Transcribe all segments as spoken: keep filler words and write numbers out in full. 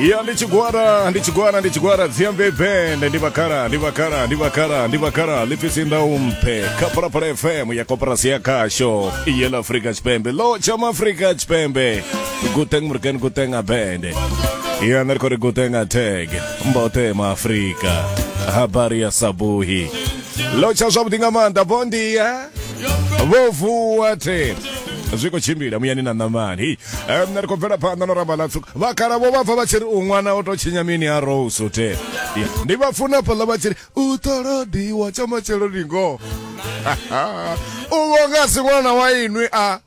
Ya ndi tshigwada, ndi tshigwada, ndi tshigwada Dziambe Band, ndi vhakala, ndi vhakala, ndi vhakala, ndi vhakala ḽipfisi ndaumpe kha Phalaphala F M ya Koporasi ya Khasho yela Afrika Tshipembe. Lo tsha Afrika Tshipembe, guten morgen, guten abend. Ya nṋe ri khou ri guten tag mbote ma Afrika, habari ya sabuhi. Lo tsha zwavhuḓi nga maanḓa, bondia vho vuwa the zwi khou tshimbila muyani na ṋamani. Nṋe ri khou bvela phanḓa no ramba ḽa vhakala vho vha pfa vha tshi ri u ṅwana o to tshinya mini ha rose te. Ndi vha funa fhaḽa vha tshi ri u ṱolodiwa tsha matshelo ndi ngoho u vho nga si ṅwana wa inwi a.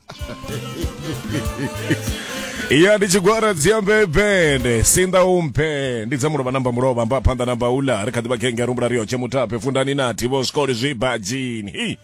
Ya ndi tshigwada Dziambe Band, sinda umpe, ndi dza mulovha namba mulovha mba phanḓa namba ula ri kha ḓivha khenge rumbula ri yotshe mutape fundani nathi vho zwikoli zwibadzhini.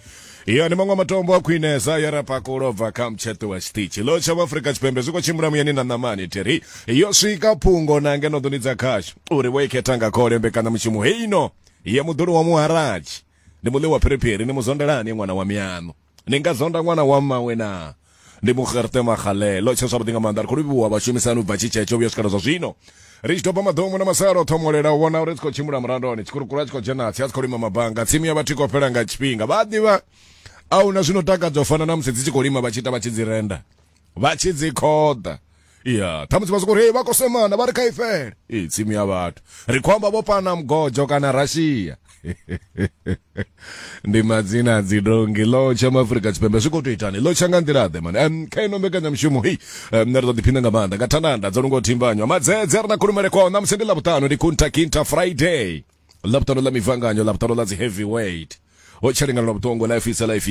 Ya ndi maṅwe matombo a khwinesa ya ra pakulo bva kha mutsheṱo wa tshiṱitshi lo tsha Afrika Tshipembe. Zwi khou tshimbila muyani na ṋamani theri yo swika phungo na ngeno ḓoni dza khashu uri vho i khetha nga khole mbekanyamushumo heino ya muḓulu wa muharatshi. Ndi muḽi wa phiriphiri, ni muzondelani ṅwana wa miano, ni nga zonda ṅwana wa mmawe na ndi muxerte maxalelo tsha zwavhuḓi nga maanḓa. Ri khou livhuwa vhashumisani u bva tshitshetsho vhuya swikela zwa zwino ri tshi doba maḓomu na masalo thomolela u vhona uri tshi khou tshimbila murandoni tshikurukuru a tshi khou dzhena tsi a tshi khou lima mabanga tsimu ya vhathu i khou fhela nga tshifhinga. Vha ḓivha a huna zwino takadza u fana na musi dzi tshi khou lima vha tshi ita vha tshi dzi renda vha tshi dzi khoḓa. Ya ṱhamusi vha soko ri vha khou semana vha ri kha i fhele i tsimu ya vhathu, ri khou amba vho pana mugodzho kana Russia, ndi madzina a dzidongi. Ḽo tsha Maafrika Tshipembe zwi khou tou itani, ḽo tsha nga nḓila ḓe mani um, kha ino mbekanyamushumo hei um, nṋe ri ḓo ḓiphina nga maanḓa nga thandanda dzo lungo thimbanywa madzedze a ri na khulumele kwao. Ṋamusi ndi Ḽavhuṱanu, ndi Kunta Kinta Friday, Ḽavhuṱanu ḽa mivanganyo, Ḽavhuṱanu ḽa dzi heavyweight ho tshelengano lwa vhuṱongo life is a life.